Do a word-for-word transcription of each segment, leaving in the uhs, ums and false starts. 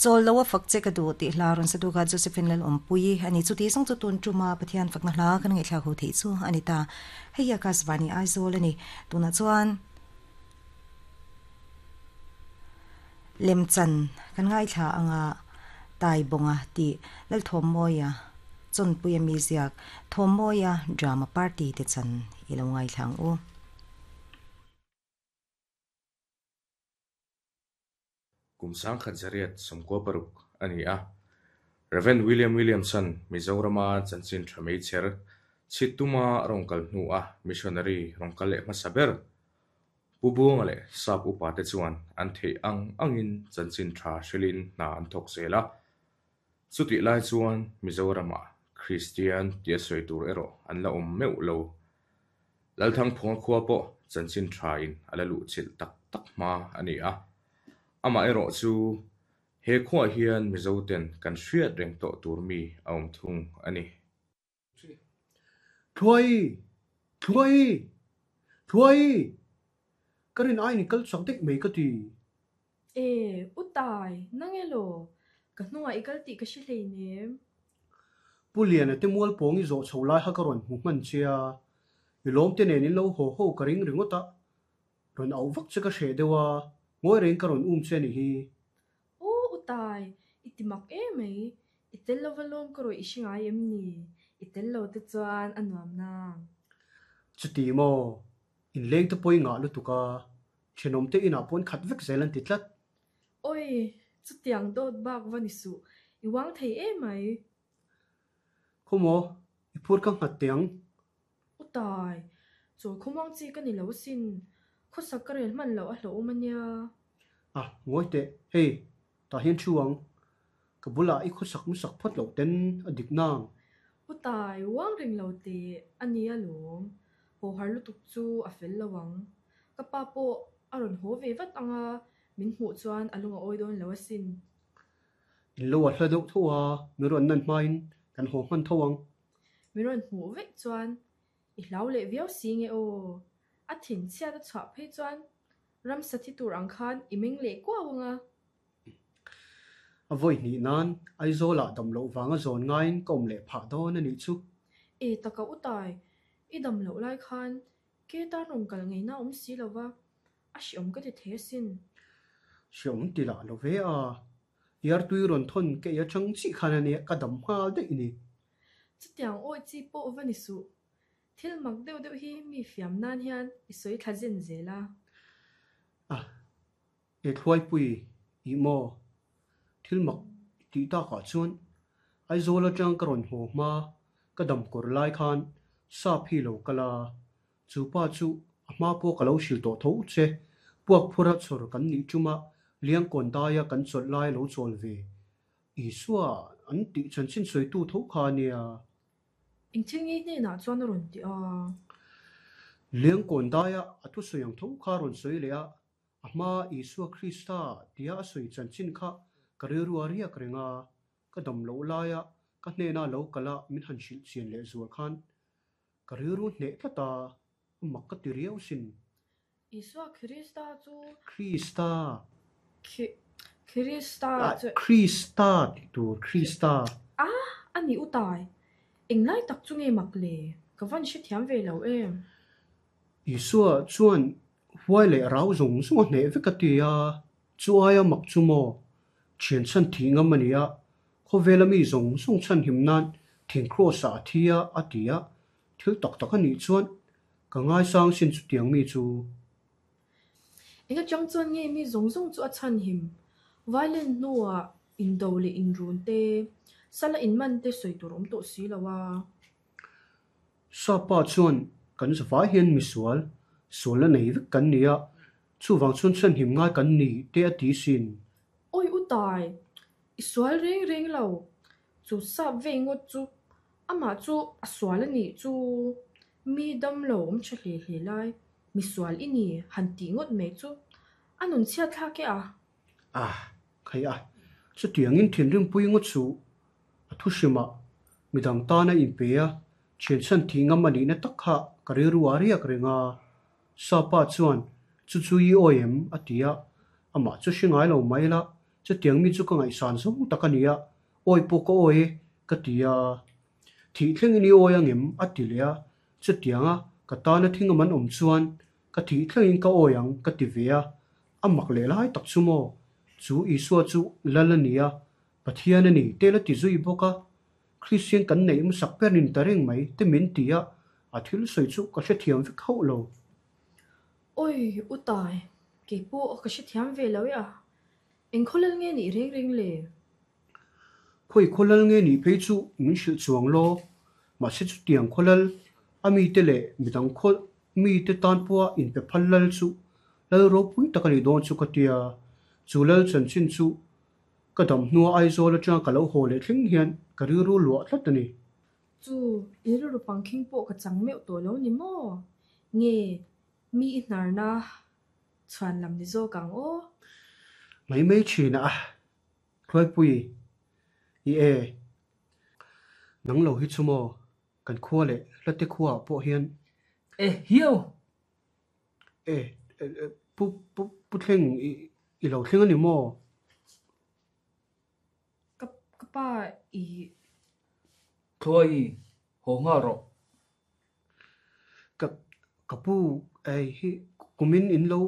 Chol lo fak che ka du ti hla ron sa du ga Josephine lal ompui ani chu ti song chu tun tuma Pathian fakna hla kan ngai thla ho thei chu ani ta hei Akashvani Aizawl ani tuna chuan lemchan kan ngai thla anga tai bonga ti lal thom moya chon puya mi ziak thom moya drama party te chan ilo ngai thlang u Kumsang khat somko paruk ani a Reverend William Williamson Mizorama chanchin thamei cher chituma rongkal hnu a missionary rongkal leh hmasaber pubung le sap upa te chuan an thei ang angin chanchin tha hrilin hna an thawk zel a chuti lai chuan Mizorama Christian tia sawi tur erawh an la awm meuh lo Lalthang phunga khua pawh chanchin tha in ala luh chilh tak tak hma ani a ama erawh chu he khuah hian Mizoten kan hriat reng tawh tur mi a awm thung ani. Thuai! Thuai! Thuai! Ka rin ai ni kal chak daih mai ka ti. E, u tai, nang elo, ka hnungah i kal tih ka hre hleinem. Pu Liana te mual pawng i zawh chho lai kha ka rawn hmu hman che a, i lawm te nen in lo haw ho ka ring ringawt a, rawn auh vak che ka hreh deuh a, ngawi reng ka rawn um che ni hi. Aw u tai, i ti mak em mai, i tel lova lawm ka rawih i hre ngai em ni, i tel lo te chuan a nuam nang. Chuti maw, in leng te pawh i ngah lutuk a, thenawm te inah pawn khat vek zel an ti tlat. Oi, chutiang dawt bak va ni suh, i wang thei em mai. Khaw maw, i phur ka nghat teh ang. U tai, chawl khawmuang chi ka ni lo sin, khawsak ka rel hman loh a hlauhawm ania. Ah, ngawi teh, hei, tah hian thu ang. Ka bulah i khawsak hmasak phawt loh ten a dik nang. U tai, wang reng lo teh ania lawm, haw har lutuk chu a fel lo ang. Ka pa pawh a rawn haw ve vat anga min hmuh chuan a lung a awi dawn lo asin. In lo a hla deuh tho a, mi rawn nan hmain kan haw hman tho ang. Mi rawn hmuh vek chuan i hlau leh viau si nge aw. A thin chhiat a chhuah phei chuan ramsa thi tur ang khan i meng leh kuau anga. A vawi hnih nan Aizawlah dam loh vanga zawn ngaiin ka awm leh phah dawn anih chu. E taka u tai, i dam loh lai khan ke tan rawn kal ngeina awm si lova, a hreawm ka ti thei asin. Hreawm ti lah lo ve a, iartui rawn thawn ke i atang chih khan ania ka dam nghal daih ni. Chutiang awi chi pawh va ni suh. Thil mak deuh deuh hi mi fiam nan hian i sawi thla zen zel a. Ah, e thluaipui i maw, thil mak tih takah chuan Aizawl atang ka rawn haw hma ka dam kawr lai khan sap hi lo kal a, chu pa chu a hma pawh ka lo hrilh tawh tho che, puak phura chhawr kan nih tuma Liangkawn daia kan chawlh lai lo chawl ve. Isua an tih chanchin sawitu tho kha ania. Engthil nge hnenah chuan a rawn ti a. Liangkawn daia a thusawi ang tho kha rawn sawi leh a, a hma Isua Krista tia a sawi chanchin kha ka rilru a riak reng a, ka dam loh laia ka hnena lo kal a min han hrilh chian leh zual khan ka rilru hneh tlat a, a mak ka ti riau sin. Isua Krista chu Krista. Krista chu Krista tih tur Krista. Ah, ani u tai. Englai tak chu nge mak le, ka van hrethiam ve lo em. Isua chuan huai leh rau zawng zawng a hneh vek a ti a, chu aia mak chu maw, thian chhan thih ngam ani a, khawvela mi zawng zawng chhan him nan thing cross ah a thi a a ti a, thil tak tak anih chuan ka ngaisang sin chutiang mi chu. Enga chang chuan nge mi zawng zawng chu a chhan him, violent hnuah indo leh inrun te, sala in man te sawi tur awm tawh si lo a. Sapa chuan kan zavai hian misual, sual a nei vek kan ni a, chuwang chuan chhan him ngai kan ni te a ti sin. Oi u tai, i sual reng reng lo, chu sap vei ngawt chu, amah chu a sual anih chu, mi dam lo awm tha hle hle lai, misual i ni han tih ngawt mai chu, a nun chhiat thlak e a. Ah, khai a, chutiangin thinrimpui ngawt chu, a thuhrimah midang tana in pe a, thian chhan thih ngam anih na tak kha ka rilru a riak reng a, sapa chuan chu chu i awi em a ti a, amah chu hre ngai lo mai la, Chutiang mi chu ka ngaihsan zawng tak a ni a, awi pawh ka awi e ka ti a. Thih thlengin i awi angem a ti leh a, chutianga ka tana thing awm an awm chuan ka thih thlengin ka awi ang ka ti ve a. A mak leh lai tak chu maw? Chu Isua chu Lal a ni a, Pathian a ni te la ti zui bawk a. Kristian kan neih hmasak ber nin ta reng mai te min ti a, a thil sawi chu ka hrethiam vek hauh lo. Awi u Tai, kei pawh ka hrethiam ve lo e a, eng khawlal nge nih reng reng le? Khawi khawlal nge nih phei chu min hrilh chuang law, mahse chutiang khawlal a mite leh midang khaw mite tan pawha inpe phal lal chu lal ropui tak a nih dawn chu ka tia. Chu lal chanchin chu ka dam hnua Aizawl atanga ka lo haw leh thleng hian ka rilru luah tlat a ni. Chu i rilru pangkhing pawh ka chang meuh tawh lo ni maw? Nge mi i hnarna chhuan lam ni zawk ang aw? Mai mai thin a, Hruaipui i e, nang lo hi chu maw kan khua leh hlate khuaah pawh hian. E hiau! E, pu pu pu thleng i i lo thleng a ni maw? Ka ka pa i. Thluai haw nghal rawh. Ka ka pu ei hi kumin in lo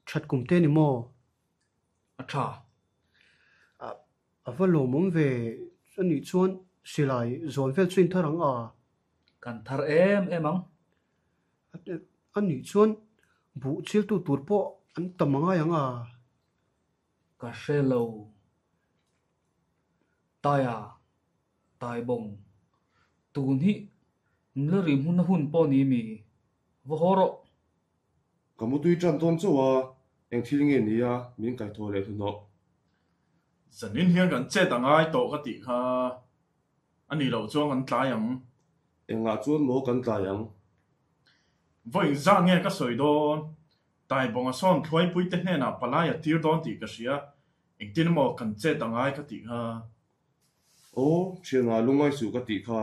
that kum te ni maw? A tha. A a va lawmawm ve anih chuan silai zawn vel chu in thar ang a. Kan thar em em ang. Anih chuan buh chiltu tur pawh an tam angai ang a. Ka hre lo. Taia, Tai bawng, tun hi nula rim hun a hun pawh ni mi? Va haw rawh. Ka mutui tan dawn chauh a, eng thil nge ni a min kaithaw leh hnuhnawh. Zanin hian kan chet a ngai tawh ka tih kha a nih loh chuan kan tlai ang. Engah chuan maw kan tlai ang? Vawiin zat nge ka sawi dawn? Tai bawnga sawn Thluaipuite hnenah palai a tir dawn tih ka hria, engtin emaw kan chet a ngai ka tih kha. Aw, thianah lungngai suh ka tih kha.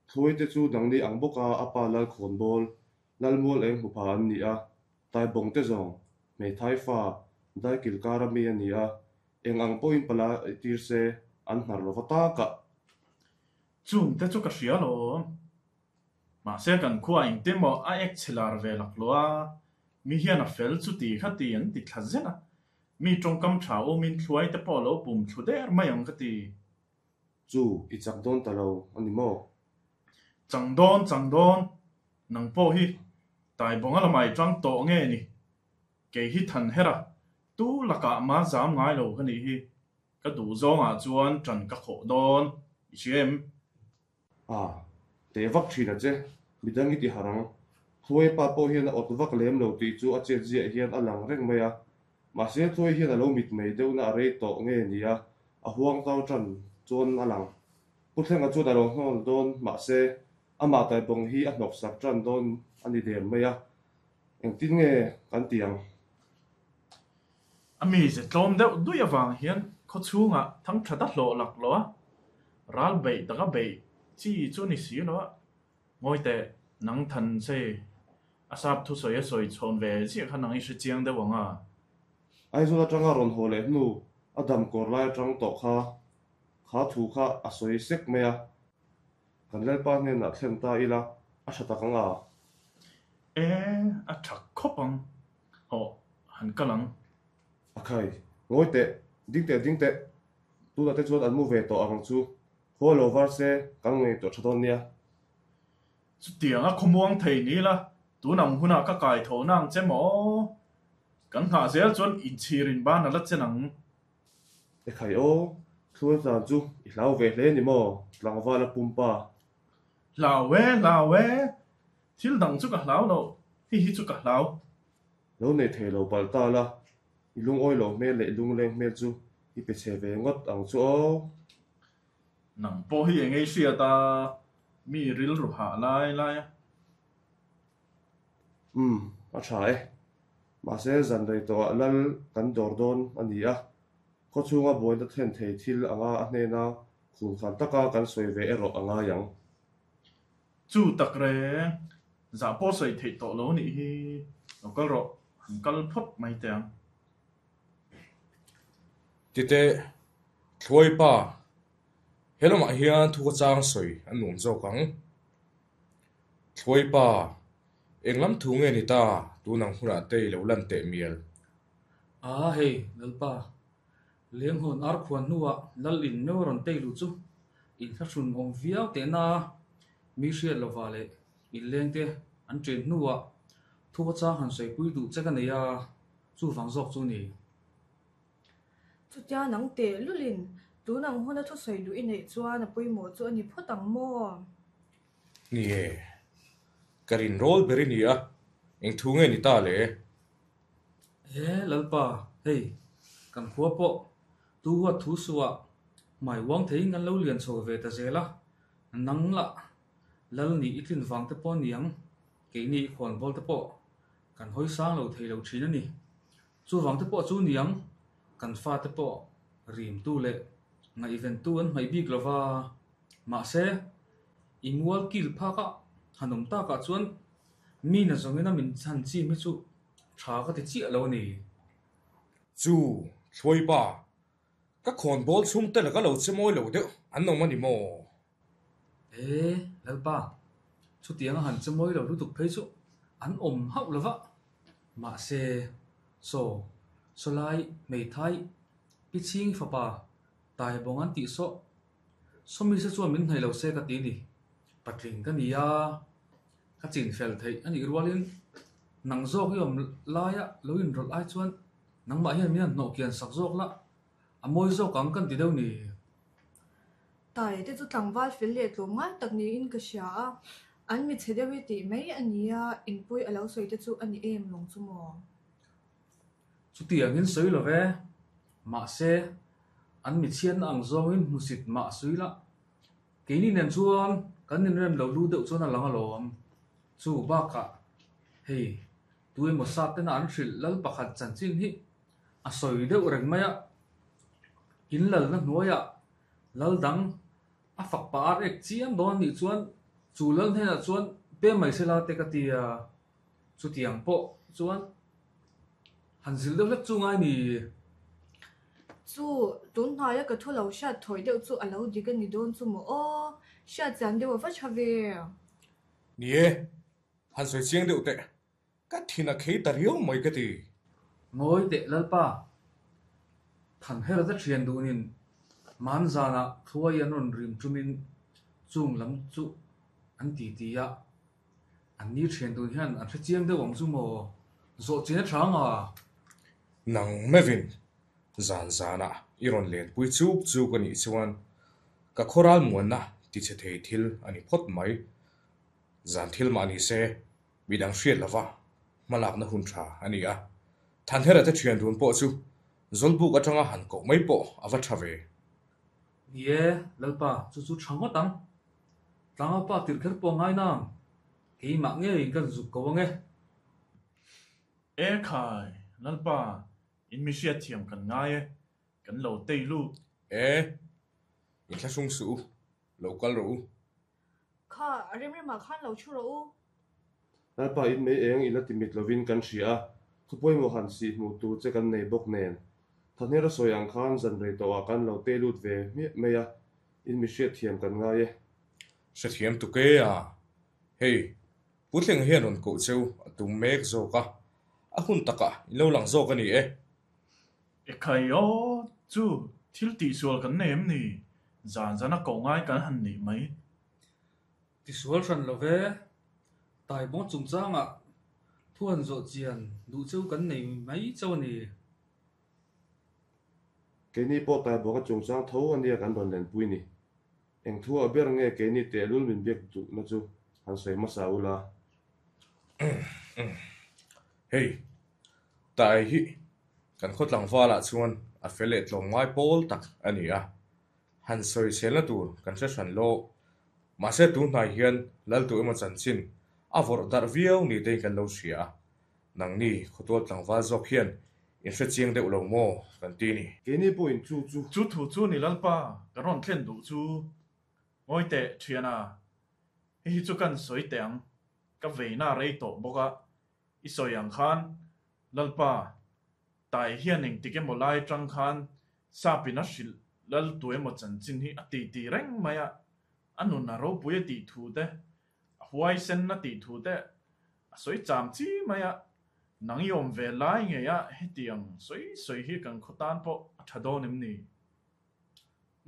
Thluaite chu dangni ang bawka a pa Lalkhawn bawl, Lalmual eng hmu pha an ni a, Tai bawng te zawng, hmeithai fa, Daikil kara mi a ni a, eng ang pawhin palai tir se an hnar lova takah. Chung te chu ka hria alawm. Mahse kan khua engtin emaw a ek chhe lar ve laklawh a, mi hian a fel chu ti kha ti an ti thla zel a, mi tawngkam tha awmin thluai te pawh a lo bum thlu der mai ang ka ti. Chu i chak dawn ta lo a ni maw? Chang dawn, chang dawn, nang pawh hi Tai bawnga lamah i tang tawh nge ni? Kei hi than her a, tu lakah ma zam ngai lo ka nih hi. Ka duh zawngah chuan tan ka khawh dawn, i hria em? A, teh vak thin a che, midang i ti harh ang. Thluai pa pawh hian a awt vak lem lo tih chu a chet ziah hian a lang reng mai a. Mahse Thluai hian a lo mitmei deuhna a rei tawh nge ni a, a huang tau tan chuan a lang. Pu Thlenga chuan a lo hnawl dawn mahse amah Taibawng hi a hnawksak tan dawn a ni der mai a, engtin nge kan ti ang? A mize tlawm deuh dui avang hian khaw chhungah thang that a hlawh laklawh a, ral beih taka beih chi chu ni si lo a, ngawi teh nang than che a sap thusawi a sawi chhawn ve ziah kha nang i hre chiang deuh ang a. Aizawl atanga rawn haw leh hnu a dam kawr lai atang tawh kha kha thu kha a sawi sek mai a, kan Lalpa hnenah thlen ta ila a tha tak ang a. E, a tha khawp ang, hawh han kal ang. A khai, ngawi teh, ding teh ding teh, tunah te chuan an mu ve tawh ang chu, khaw lo var se kan ngaihtuah tha dawn nia. Chutiang a khawmuang thei ni la, tun ang hunah ka kai tho na ang che maw? Kan nghah zel chuan inchhir in ban a la chen ang. E khai aw, thluai tlan chu i hlau ve hle ni maw, tlangval a pumpa. Hlau e, hlau e, thil dang chu ka hlau lo, hei hi chu ka hlau. Lo nei thei lo palh ta la, i lungawi lo hmel leh i lungleng hmel chu i pe chhe ve ngawt ang chu aw. Nang pawh hi eng ei hriat a, mi rilru hah lai lai a. Umm, a tha e. Mahse zan rei tawhah lal kan dawr dawn a ni a, khaw chhunga buaina thlen thei thil anga a hnena khum khan taka kan sawi ve erawh a ngai ang. Chu tak reng, zah pawh sawi theih tawh lo nih hi, lo kal rawh, han kal phawt mai teh ang. Titeh, Thluai pa, he lamah hian thu ka chang sawi an nuam zawk ang. Thluai pa, eng lam thu nge ni ta, tun ang hunah te i lo lan teh mial. A hei, Lalpa, Lenghawn ar khuan hnuah Lal in meu rawn tei luh chu inthlahrun awm viau tehna mi hriat lova leh inleng te an chen hnuah thu ka chang han sawipui duh che ka nei a, chuvang zawk chu ni. Chutia nang teh lulin tun ang huna thusawi luh i neih chuan a pawimawh chu a ni phawt ang maw? Ni e, ka rinrawl ber i ni a, eng thu nge ni ta le? E Lalpa, hei, kan khua pawh tu huat thu suah hmai uang theiin kan lo lian chho ve ta zel a, nang lah Lal nih i tlin vang te pawh a ni ang, keini i khawnbawl te pawh kan hawi sang lo thei lo thin a ni. Chuvang te pawh chu ni ang, kan fate pawh rimtu leh ngaihventu an hmaih bik lova, mahse i mual kil phak a han awm takah chuan mi na zawngin a min chhan chim hi chu tha ka ti chiah lo a ni. Chu, Thluai pa, ka khawnbawl chhungte laka lo che mawi lo deuh an awm a ni maw? E, Lalpa, chutiang a han che mawi lo lutuk phei chu an awm hauh lova, mahse, saw, sawlai hmeithai pi chhing fapa Taibawng an tih sawh, sawmi se chuan min hnaih lo se ka ti ni, patling ka ni a, ka chin fel theih a nih rualin nang zawk i awm laia lo inrawlh ai chuan nangmah hian min han hnawh kian sak zawk la, a mawi zawk ang kan ti deuh ni. Tai te chu tlangval fel leh tlawm ngai tak niin ka hria a, an mi chhe deuh i tih mai a nia, inpui a lo sawi te chu a ni em lawng chu maw? Chutiangin sawi lo ve, mahse an mi chhiatna ang zawngin hmusit mah sawi la, keini nen chuan kan inrem lo lu deuh chuan a lang alawm. Chu bakah hei tu emaw sat tena an hrilh lal pakhat chanchin hi a sawi deuh reng mai a, in lalna hnuaiah lal dang a fak pah ar ek chiam dawn anih chuan chu lal hnenah chuan pem mai se la te ka ti a, chutiang pawh chuan han zilh deuh hlek chu ngai ni. Chu, tun hnaia ka thu lo hriat thawi deuh chu a lo dik a ni dawn chu maw aw, hriat chian deuh a va tha ve. Ni e, han sawi chiang deuh teh, ka thin a khei ta riau mai ka ti. Ngawi teh Lalpa, Thanhera te thian dunin Manzanah Thluai an rawn rim tumin chung lam chu an ti ti a, an ni thian dun hian an hre chiang deuh ang chu maw, zawh chin a tha anga. Nang mevin, zan zanah i rawn lenpui chuk chuk a nih chuan ka khawral muanna ti chhe thei thil a ni phawt mai. Zan thil mah ni se, midang hriat lova hmalakna hun tha a ni a. Thanhera te thian dun pawh chu Zawlbuk atanga han koh mai pawh a va tha ve. Ni e, Lalpa, chu chu tha ngawt ang. Tlangau pa tirh kher pawh ngai nang, keimah ngeiin kan zuk ko ang e. E khai, Lalpa, in mi hriatthiam kan ngai e, kan lo tei lut. E, inthlahrung suh u, lo kal rawh u. Kha, a remremah khan lo thu rawh u. Lalpa in mei eng i la ti mit lovin kan hria a, thu pawimawh han sih hmuh tur che kan nei bawk nen. Thanhera sawi ang khan zan rei tawhah kan lo tei lut ve hmiah mai a, in mi hriatthiam kan ngai e. Hrethiam tuk e a, hei, Puthleng hian rawn koh cheu a tum mek zawk a, a hun takah in lo lang zawk a ni e. Ekhai aw, chu thil tihsual kan nei em ni? Zan zana koh ngai kan han nih mai. Tisual hran lo ve, Taibawng chungchangah thu han zawh chian duh cheu kan nei mai chauh a ni. Keini pawh Taibawnga chungchang tho a nia kan rawn lenpui ni. Eng thu ah ber nge keini tehlul min biak duhna chu han sawi hmasa ula. Hei, Tai hi kan khaw tlangvalah chuan a fel leh tlawmngai pawl tak a ni a, han sawi selna tur kan hre hran lo. Mahse tun hnai hian Laltu emaw chanchin a vawrh darh viau ni tein kan lo hria a, nangni khawtual tlangval zawk hian in hre chiang deuh lo maw kan ti ni. Keini pawhin chu chu. Chu thu chu ni Lalpa, ka rawn thlen duh chu. Ngawi teh thiana, hei hi chu kan sawi teh ang, ka veina rei tawh bawk a, i sawi ang khan Lalpa, tai hian engtik emaw lai atang khan Sapin a hrilh lal tu emaw chanchin hi a ti ti reng mai a, a nun a ropui a tih thu te, a huaisen a tih thu te a sawi cham chi mai a, nang i awm ve lai ngei a hetiang sawi sawi hi kan khaw tan pawh a tha dawn em ni?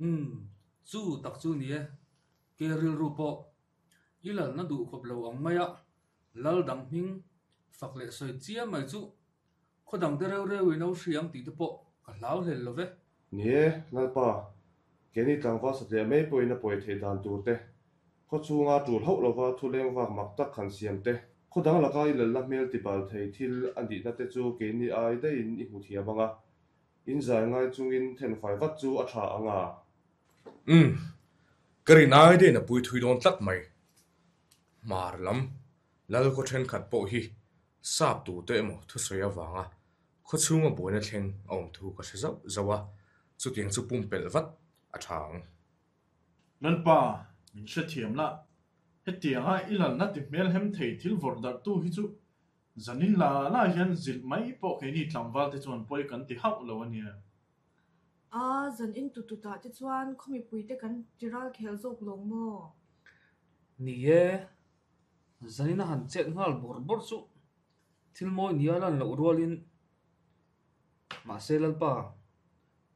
Umm, chu tak chu ni e, ke rilru pawh i lalna duh khawp lo ang mai a, lal dang hming fak leh sawi chiam mai chu khaw dang te reu reu in a hri ang tih te pawh ka hlau hlel lo ve. Ni e, Lalpa, keini tlangval satliah mai pawhin a pawi theih dan tur te, khaw chhunga tul hauh lova thu leng vak mak tak han siam te, khaw dang laka i lalna hmel ti bal thei thil a nihna te chu keini ai daihin i hmu thiam ang a, in zai ngai chungin thenfai vat chu a tha ang a. Umm, ka rin ai daihin a pui thui dawn tlat mai. Hmar lam lal khaw thenkhat pawh hi sap tu te emaw thusawi avanga khaw chhunga buaina thleng a awm thu ka hre zauh zauh a, chutiang chu pumpelh vat a tha ang. Lalpa, min hrethiam la, hetianga i lalna ti hmel hem thei thil vawrh darh tu hi chu zanin la la hian zilh mai pawh keini tlangval te chuan pawi kan ti hauh lo a nia. A, zanin tututah te chuan khaw mipui te kan ti ral khel zawk lawng maw? Ni e, zanin a han chet nghal bawrh bawrh chu thil mawi nia lan loh rualin mahse Lalpa,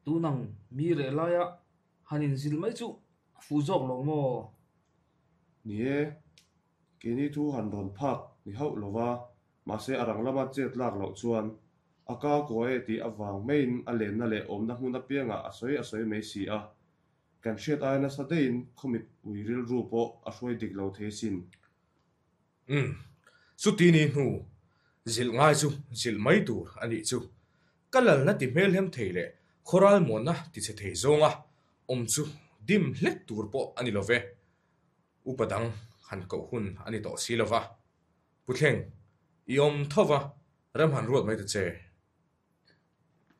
tunang mi reh laia han inzilh mai chu a fuh zawk lawng maw? Ni e, keini thu han rawn phak ni hauh lova, mahse a rang lama chet lak loh chuan a ka kaw e tih avang maiin a lenna leh awmna hmun apiangah a sawi a sawi mai si a, kan hriat ai nasa daihin khaw mipui rilru pawh a hruai dik lo thei sin. Umm, chuti ni hnu zilh ngai chu zilh mai tur a nih chu. Ka lalna ti hmel hem thei leh khawral muanna ti che thei zawnga awm chu dim hlek tur pawh a ni lo ve. Upa dang han koh hun a ni tawh si lo va. Pu Thleng, i awm tho va, ram han ruat mai ta che.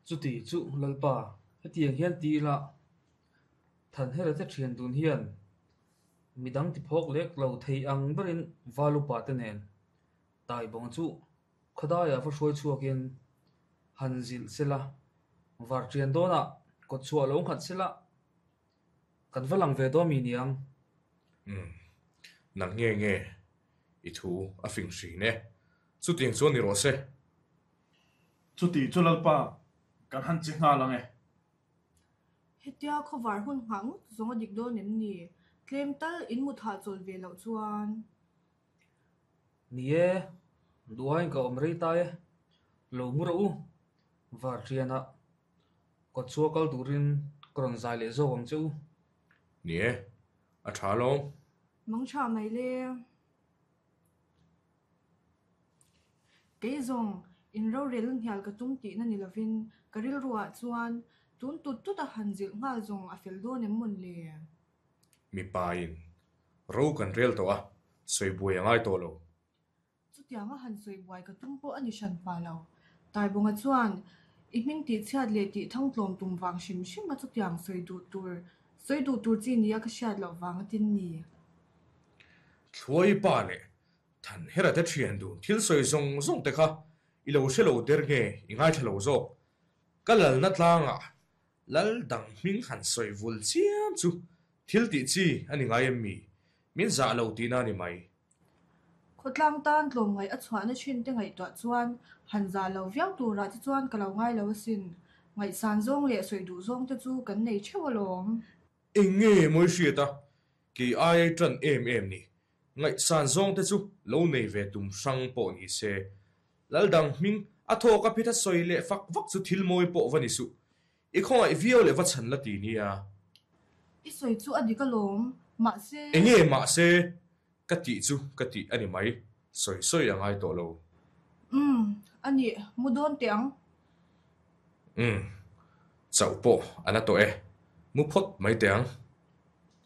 Chuti chu Lalpa, hetiang hian ti ila Thanhera te thian dun hian midang ti phawk lek lo thei ang berin val upa te nen Taibawng chu khawdaiah va hruai chhuakin han zilh sela, var thian dawnah kawt chhuah lo nghat sela, kan va lang ve dawn mi niang. Umm, nang nge nge i thu a fing hrin e, chutiang chuan ni rawh se. Chuti chu Lalpa, kan han che nghal ang e. Hetia khawvar hun nghah ngawt zawng a dik dawn em ni? Tlem tal in mut hahchawl ve loh chuan. Ni e, duhaiin ka awm rei ta e, lo mu rawh u, var thianah kawt chhuah kal turin ka rawn zai leh zawk ang che u. Ni e, a tha alawm. Mang tha mai le. Kei zawng in rorel hnial ka tum tihna ni lovin ka rilruah chuan tun tut tut a han zilh nghal zawng a fel dawn em mawn le? Mipain ro kan rel tawh a, sawi buai a ngai tawh lo. Chutianga han sawi buai ka tum pawh a ni hran pa lo. Taibawnga chuan i hming tih chhiat leh tih thangtlawm tum vang hrim hrim a chutiang sawi duh tur sawi duh tur chi nia ka hriat loh vang a tin ni. Thluai pa leh Thanhera te thian dun thil sawi zawng zawng te kha i lo hre lo der nge i ngaithla lo zawk. Ka lalna tlangah lal dang hming han sawi vul chiam chu thil tih chi a ni ngai em mi? Min zah lo tihna a ni mai. Khawtlang tan tlawmngaih a chhuahna thin te ngaihtuah chuan han zah lo viau turah te chuan ka lo ngai lo asin. Ngaihsan zawng leh sawi duh zawng te chu kan nei theuh alawm. Eng nge mawi hriat a, kei ai ai tan em em ni. Ngaihsan zawng te chu lo nei ve tum hrang pawh ni se. Lal dang hming a thawk a phit a sawi leh fak vak chu thil mawi pawh va ni suh. I khawngaih viau leh va chhan la ti nia. I sawi chu a dik alawm, mahse. Eng nge mahse ka tih chu ka tih a ni mai, sawi sawi a ngai tawh lo. Umm, a nih, mu dawn teh ang. Umm, chauh pawh a la tawh e, mu phawt mai teh ang.